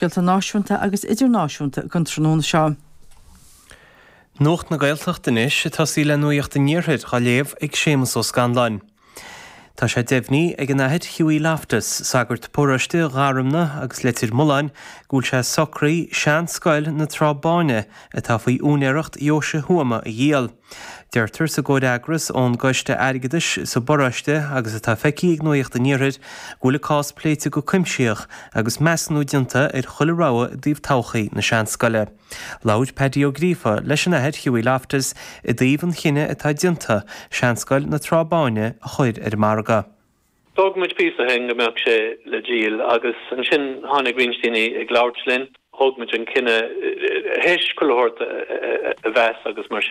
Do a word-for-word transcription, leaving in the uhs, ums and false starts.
Scéalta náisiúnta agus idirnáisiúnta don tráthnóna seo. Nuacht na Gaeltachta anois ag tosaí le nuacht an Iarthair á léamh ag Séamus Ó Scanláin. Tá sé deimhnithe ag an Athair Hughie Loftus, sagart paróiste Gharumna agus Leitir Mealláin, go bhfuil sé socraithe seanscoil na Trá Báine atá faoi úinéireacht Dheoise Thuama a dhíol. Deirtear sa gcomhfhreagras ón gcoiste airgeadais sa bparóiste agus atá feicthe ag Nuacht an Iarthair go bhfuil an cás pléite go cuimsitheach agus measúnú déanta ar chuile rogha i dtaobh todhchaí na seanscoile. Labhair Paddy Ó Gríofa leis an Athair Hughie Loftus i dtaobh an chinnidh atá déanta seanscoil na Trá Báine a chur ar an margadh. D'fhógair muid píosa ó shin go mbeadh sé le díol agus ansin tháinig roinnt daoine ag labhairt linn, thóg muid an cinneadh théis chuile shórt a mheas agus mar sin.